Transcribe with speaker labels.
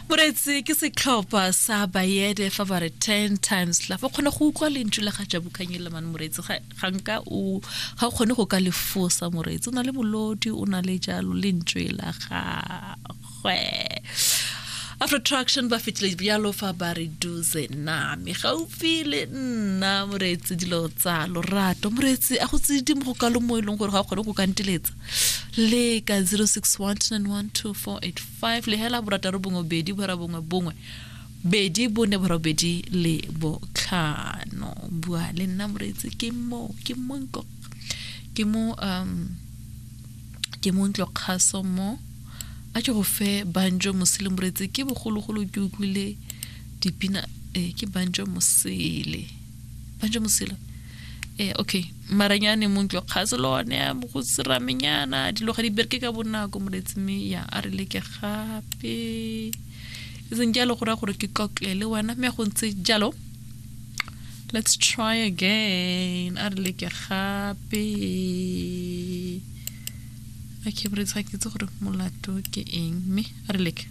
Speaker 1: Moreetsi ke setlhopha sa Bayede fa ba re 10 times love. O kgona go utlwa lentswe la ga Jabu Khanyile man moreetsi ga ga nka o ga o kgone go ka le fosa moreetsi. O na le molodi, o na le jalo lentswe la gagwe. Afro Traction ba fetile bjalo fa ba re duze name gaufi le nna moreetsi dilo tsa lorato moreetsi a go tse di mo go kalo mo e leng gore ga o kgone go ka nteletsa le ka 061 912 485 lehela borataro bongwe bedi bora bongwe bongwe bedi bone borobedi le botlhano bua le nna moreetsi ke mo ke mo ntlo ke mo um ke mo ntlo kgaso mo a ke go fe banjo mosele moreetsi ke bogologolo ke utlwile dipina eh, ke banjo mosele banjo mosele eh okay maranyane mo ntlo kgaso le one go seramenyana dilo ga di bereke ka bonako moreetsi mme ya a re leke gape e seng jalo go raya gore ke tlotle le wena mme go ntse jalo let's try again a re leke gape okay moreetsi ga ke itse gore molato ke eng mme a re leke.